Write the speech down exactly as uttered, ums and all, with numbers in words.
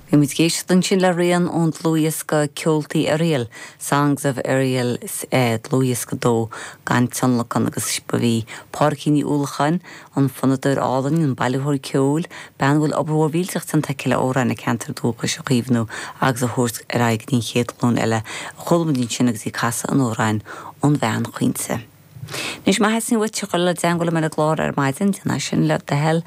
Bhí muid ag éisteacht ansin le rian ón dlúthdhiosca Ceoltaí Oiriall, Songs of Oiriall eh, dlúthdhiosca dó gan tionlacan agus ba í Pádraigín Ní Uallacháin an fonnadóir álainn an bailitheoir ceoil, bean bhfuil obair mhór mhillteach déanta aici le amhráin a ceantar dúchais a chaomhnú agus a thabhairt ar aghaidh don chéad ghlúin eile a chuala muid ansin agus í ag casadh an amhráin An Bhean Chaointe. Anois má theastaíonn uait dul i dteagmháil liom ar an gclár ar maidin, déan sin le do thoil